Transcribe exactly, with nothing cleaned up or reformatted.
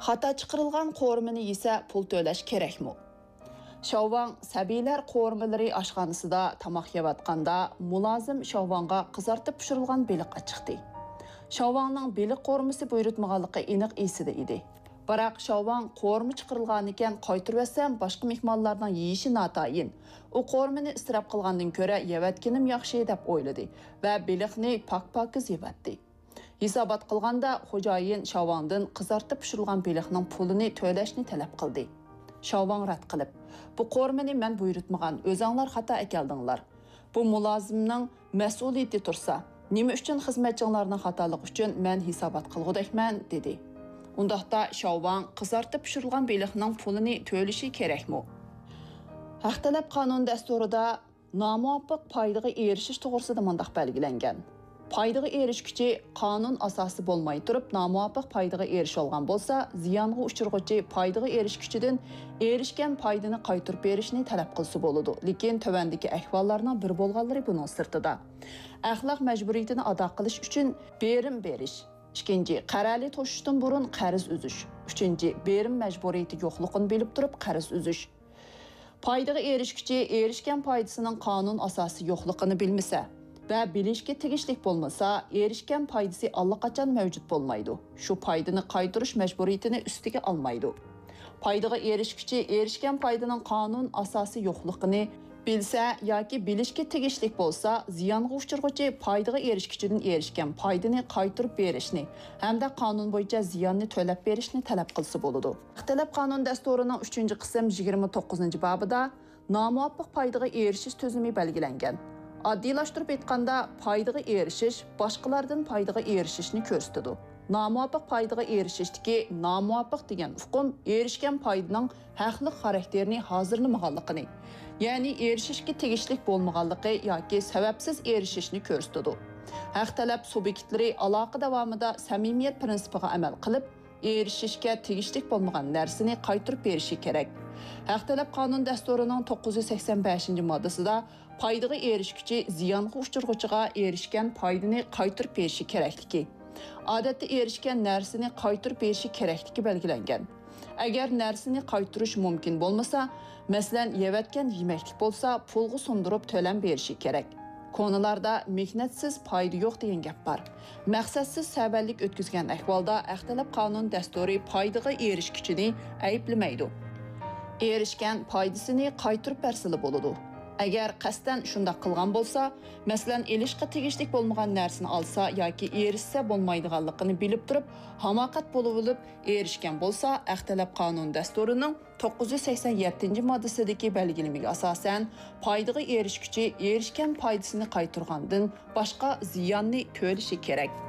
خاتا چىقىرىلغان قورۇمىنى يېسە پۇل تۆلەش كېرەكمۇ؟ شاۋۋاڭ سەبىيلەر قورۇمىلىرى ئاشخانىسىدا تاماق يەۋاتقاندا، مۇلازىم شاۋۋاڭغا قىزارتىپ پىشۇرۇلغان بېلىق ئاچىقتى. شاۋۋاڭنىڭ بېلىق قورۇمىسى بۇيرۇتمىغانلىقى ئېنىق ئېسىدە ئىدى. بىراق شاۋۋاڭ قورۇما چىقىرىلغانىكەن، قايتۇرۇۋەتسەم باشقا مېھمانلارنىڭ يېيىشى ناتايىن، ئۇ قورۇمىنى ئىسراپ قىلغاندىن كۆرە يەۋەتكىنىم ياخشى دەپ ئويلىدى ۋە بېلىقنى پاك-پاكىز يەۋەتتى. ھېسابات قىلغاندا، خوجايىن شاۋاڭدىن قىزارتىپ پىشۇرۇلغان بېلىقنىڭ پۇلىنى تۆلەشنى تەلەپ قىلدى. شاۋاڭ رەت قىلىپ، بۇ قورۇمىنى مەن بۇيرۇتمىغان، ئۆزەڭلار خاتا ئەكەلدىڭلار. بۇ مۇلازىمنىڭ مەسئۇلىيىتى تۇرسا، نېمە ئۈچۈن خىزمەتچىڭلارنىڭ خاتالىقى ئۈچۈن مەن ھېسابات قىلغۇدەكمەن؟ دېدى. ئۇنداقتا شاۋاڭ قىزارتىپ پىشۇرۇلغان بېلىقنىڭ پۇلىنى تۆلىشى كېرەكمۇ؟ ھەق تەلەپ قانۇن دەستۇرىدا نامۇۋاپىق پايدىغا ئېرىشىش توغرىسىدا مۇنداق بەلگىلەنگەن: پايدىغا ئېرىشكۈچى قانۇن ئاساسى بولماي تۇرۇپ نامۇۋاپىق پايدىغا ئېرىشىۋالغان بولسا، زىيانغا ئۇچرىغۇچى پايدىغا ئېرىشكۈچىدىن ئېرىشكەن پايدىنى قايتۇرۇپ بېرىشنى تەلەپ قىلسا بولىدۇ. لېكىن تۆۋەندىكى ئەھۋاللارنىڭ بىر بولغانلىرى بۇنىڭ سىرتىدا: ئەخلاق مەجبۇرىيىتىنى ئادا قىلىش ئۈچۈن بېرىم بېرىش. ئىككىنچى، قەرەلى توشۇشتىن بۇرۇن قەرز ئۈزۈش. ئۈچىنچى، بېرىم مەجبۇرىيىتى يوقلۇقىنى بىلىپ تۇرۇپ قەرز ئۈزۈش. پايدىغا ئېرىشكۈچى ئېرىشكەن پايدىسىنىڭ قانۇن ئاساسى يوقلۇقىنى بىلمىسە ۋە بىلىشكە تېگىشلىك بولمىسا، ئېرىشكەن پايدىسى ئاللىقاچان مەۋجۇت بولمايدۇ. شۇ پايدىنى قايتۇرۇش مەجبۇرىيىتىنى ئۈستىگە ئالمايدۇ. پايدىغا ئېرىشكۈچى ئېرىشكەن پايدىنىڭ قانۇن ئاساسى يوقلۇقىنى بىلسە ياكى بىلىشكە تېگىشلىك بولسا، زىيانغا ئۇچرىغۇچى پايدىغا ئېرىشكۈچىدىن ئېرىشكەن پايدىنى قايتۇرۇپ بېرىشنى ھەمدە قانۇن بويىچە زىياننى تۆلەپ بېرىشنى تەلەپ قىلسا بولىدۇ. ھەق تەلەپ قانۇن دەستۇرىنىڭ ئۈچىنچى قىسىم يىگىرمە توققۇزىنچى بابىدا نامۇۋاپىق پايدىغا ئېرىشىش تۈزۈمى بەلگىلەنگەن. ئاددىيلاشتۇرۇپ ئېيتقاندا، پايدىغا ئېرىشىش باشقىلاردىن پايدىغا ئېرىشىشنى كۆرسىتىدۇ. نامۇۋاپىق پايدىغا ئېرىشىشتىكى نامۇۋاپىق دېگەن ئۇقۇم ئېرىشكەن پايدىنىڭ ھەقلىق خاراكتېرىنى ھازىرلىمىغانلىقىنى، يەنى ئېرىشىشكە تېگىشلىك بولمىغانلىقى ياكى سەۋەبسىز ئېرىشىشنى كۆرسىتىدۇ. ھەق تەلەپ سۇبيېكتلىرى ئالاقە داۋامىدا سەمىمىيەت پىرىنسىپىغا ئەمەل قىلىپ، ئېرىشىشكە تېگىشلىك بولمىغان نەرسىنى قايتۇرۇپ بېرىشى كېرەك. ھەق تەلەپ قانۇن دەستۇرىنىڭ توققۇز يۈز سەكسەن بەشىنچى ماددىسىدا پايدىغا ئېرىشكۈچى زىيانغا ئۇچرىغۇچىغا ئېرىشكەن پايدىنى قايتۇرۇپ بېرىشى كېرەكلىكى، ئادەتتە ئېرىشكەن نەرسىنى قايتۇرۇپ بېرىشى كېرەكلىكى بەلگىلەنگەن. ئەگەر نەرسىنى قايتۇرۇش مۇمكىن بولمىسا، مەسىلەن، يەۋەتكەن يېمەكلىك بولسا، پۇلغا سۇندۇرۇپ تۆلەم بېرىشى كېرەك. كونىلاردا مېھنەتسىز پايدا يوق دېگەن گەپ بار. مەقسەتسىز سەۋەنلىك ئۆتكۈزگەن ئەھۋالدا ھەق تەلەپ قانۇن دەستۇرى پايدىغا ئېرىشكۈچىنى ئەيىبلىمەيدۇ. ئېرىشكەن پايدىسىنى قايتۇرۇپ بەرسىلا بولىدۇ. ئەگەر قەستەن شۇنداق قىلغان بولسا، مەسىلەن، ئېلىشقا تېگىشلىك بولمىغان نەرسىنى ئالسا ياكى ئېرىشسە بولمايدىغانلىقىنى بىلىپ تۇرۇپ، ھاماقەت بولۇۋېلىپ ئېرىشكەن بولسا، ھەق تەلەپ قانۇن دەستۇرىنىڭ توققۇز يۈز سەكسەن يەتتىنچى ماددىسىدىكى بەلگىلىمىگە ئاساسەن، پايدىغا ئېرىشكۈچى ئېرىشكەن پايدىسىنى قايتۇرغاندىن باشقا زىياننى تۆلىشى كېرەك.